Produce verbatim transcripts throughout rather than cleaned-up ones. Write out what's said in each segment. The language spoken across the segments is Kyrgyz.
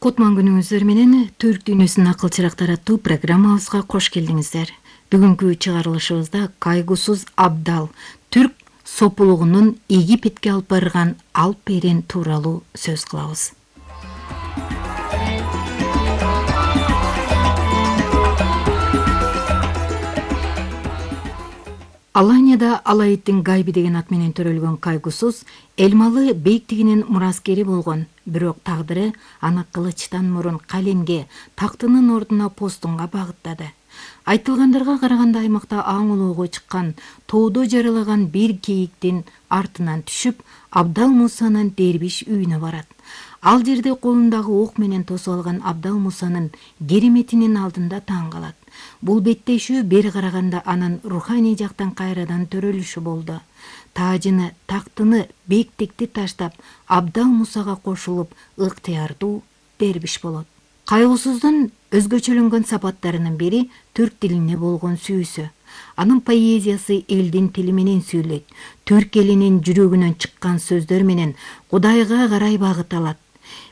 Кутман күнүңүздөр менен Түрк дүйнөсүнүн акыл чырактары аттуу программабызга кош келдиңиздер. Бүгүнкү чыгарылышыбызда кайгусуз абдал түрк сопулугунун Египетке алып барган алп берен тууралуу сөз кылабыз. Аланияда Алайыттын Гайби деген ат менен төрөлгөн кайгусуз Элмалы бейиктигинин мураскери болгон, бирок тагдыры аны кылычтан мурун калемге, тактынын ордуна постунга багыттады. Айтылгандарга караганда аймакта аң улоого чыккан, тоодо жаралаган бир кейиктин артынан түшүп, Абдал Мусанын дербиш үйүнө барат. Ал жерде колундагы ок менен тосуп алган Абдал Мусанын кереметинин алдында таң калат. Бул беттешүү бери караганда анын руханий жактан кайрадан төрөлүшү болду. Таажыны, тактыны, бектикти таштап, Абдал Мусага кошулуп, ыктыярдуу дербиш болот. Кайгысуздун өзгөчөлөнгөн сапаттарынын бири түрк тилине болгон сүйүүсү. Анын поэзиясы элдин тили менен сүйлөйт. Түрк элинин жүрөгүнөн чыккан сөздөр менен Кудайга карай багыт алат.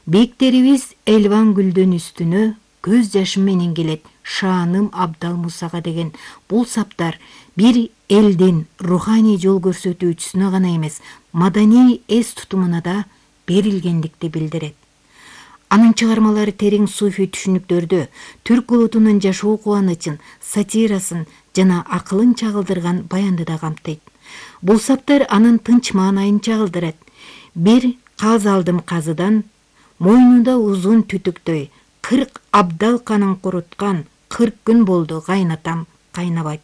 Бектерибиз элбан гүлдөн үстүнө көз жашым менен келет шааным Абдал Мусага деген бул саптар бир элдин руханий жол көрсөтүүчүсүнө гана эмес, маданий эс тутумуна да берилгендикти билдирет. Анын чыгармалары терең суфий түшүнүктөрдө түрк улутунун жашоо кубанычын, сатирасын жана акылын чагылдырган баянды да камтыйт. Бул саптар анын тынч маанайын чагылдырат. Бир каз алдым казыдан, мойнунда узун түтүктөй, кырк абдал канын куруткан, кырк күн болду кайнатам кайнабайт.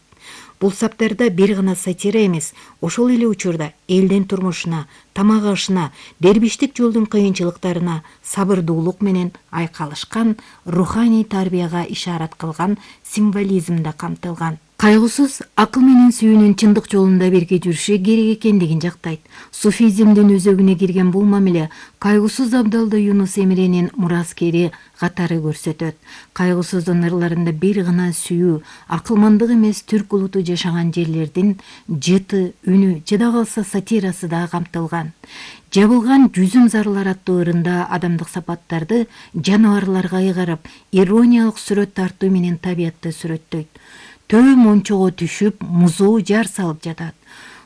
Бул саптарда бир гана сатира эмес, ошол эле учурда элдин турмушуна, тамак ашына, дербиштик жолдун кыйынчылыктарына сабырдуулук менен айкалышкан, руханий тарбияга ишарат кылган символизм да камтылган. Кайгысыз акыл менен сүйүүнүн чындык жолунда бирге жүрүшү керек экендигин жактайт. Суфизмдин өзөгүнө кирген бул мамиле кайгысыз абдалды Юнус Эмренин мураскери катары көрсөтөт. Кайгысыздын ырларында бир гана сүйүү, акылмандык эмес, түрк улуту жашаган жерлердин жыты, үнү, жада калса сатирасы да камтылган. Жабылган жүзүм зарлар аттуу ырында адамдык сапаттарды жаныбарларга ыйгарып, ирониялык сүрөт тартуу менен табиятты сүрөттөйт. Төө мончого түшүп, музоо жар салып жатат.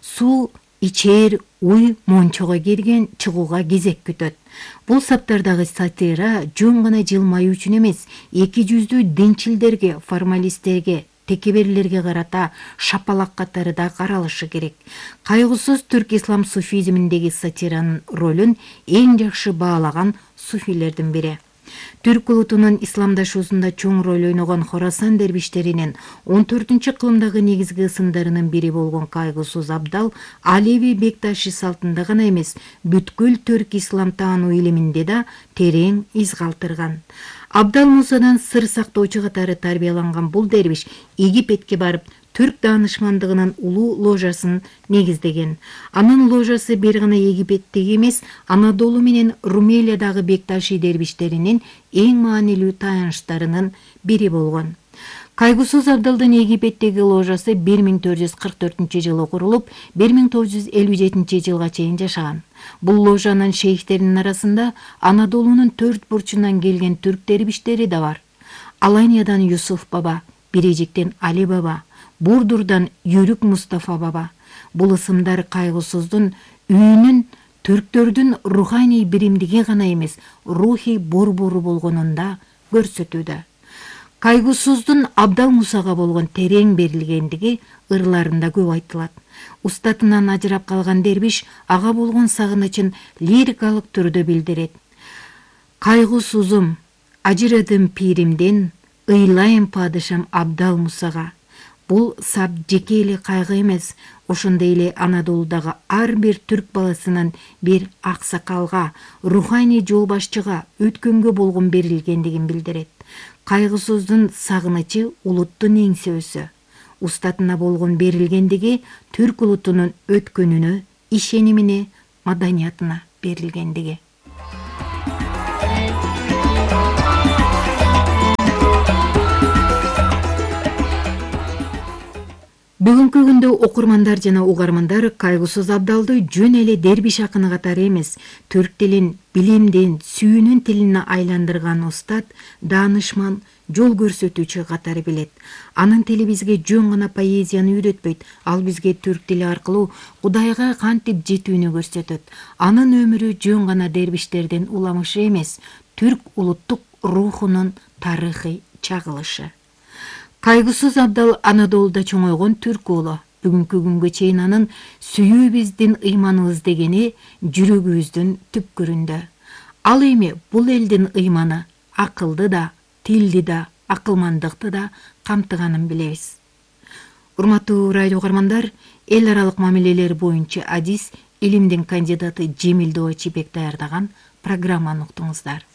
Суу ичер, уй мончого кирген, чыгууга кезек күтөт. Бул саптардагы сатира жөн гана жылмаюу үчүн эмес, эки жүздүү динчилдерге, формалисттерге, текеберлерге карата шапалак катары да каралышы керек. Кайгысыз түрк ислам суфизминдеги сатиранын ролун эң жакшы баалаган суфилердин бири. Түрк улутунун исламдашуусунда чоң роль ойногон Хорасан дербиштеринин он төртүнчү кылымдагы негизги ысымдарынын бири болгон кайгысыз абдал Алеви бекташи салтында гана эмес, бүткүл түрк ислам таануу илиминде да терең из калтырган. Абдал Мусадан сыр сактоочу катары тарбияланган бул дербиш Египетке барып, түрк даанышмандыгынын улуу ложасын негиздеген. Анын ложасы бир гана Египеттеги эмес, Анадолу менен Румелиядагы бекташи дербиштеринин эң маанилүү таяныштарынын бири болгон. Кайгысыз абдалдын Египеттеги ложасы бир миң төрт жүз кырк төртүнчү жылы курулуп, бир миң тогуз жүз элүү жетинчи жылга чейин жашаган. Бул ложанын шейхтеринин арасында Анадолунун төрт бурчунан келген түрк дербиштери да бар. Аланиядан Юсуф баба, Бирежиктен Али баба, Бурдурдан Юрүк Мустафа баба. Бул ысымдар кайгысыздын үйүнүн түрктөрдүн руханий биримдиги гана эмес, рухий борбору болгонун да көрсөтүүдө. Кайгысыздын Абдал Мусага болгон терең берилгендиги ырларында көп айтылат. Устатынан ажырап калган дербиш ага болгон сагынычын лирикалык түрдө билдирет. Кайгысызым, ажырадым пиримден, ыйлайм падышам Абдал Мусага. Бул сап жеке эле кайгы эмес, ошондой эле Анадолудагы ар бир түрк баласынын бир аксакалга, руханий жол башчыга, өткөнгө болгон берилгендигин билдирет. Кайгысыздын сагынычы улуттун эңсөөсү. Устатына болгон берилгендиги түрк улутунун өткөнүнө, ишенимине, маданиятына берилгендиги. Бүгүнкү күндө окурмандар жана угармандар Кайгысыз Абдалды жөн эле дербиш акыны катары эмес, түрк тилин билимдин, сүйүүнүн тилине айландырган устат, даанышман, жол көрсөтүүчү катары билет. Анын тили бизге жөн гана поэзияны үйрөтпөйт, ал бизге түрк тили аркылуу Кудайга кантип жетүүнү көрсөтөт. Анын өмүрү жөн гана дербиштердин уламышы эмес, түрк улуттук рухунун тарыхый чагылышы. Кайгысыз Абдал Анадолуда чоңойгон түрк уулу. Бүгүнкү күнгө чейин анын сүйүү биздин ыйманыбыз дегени жүрөгүбүздүн түпкүрүндө. Ал эми бул элдин ыйманы акылды да, тилди да, акылмандыкты да камтыганын билебиз. Урматтуу радио угармандар, эл аралык мамилелер боюнча адис, илимдин кандидаты Жемил Доо Чибек даярдаган программаны уктуңуздар.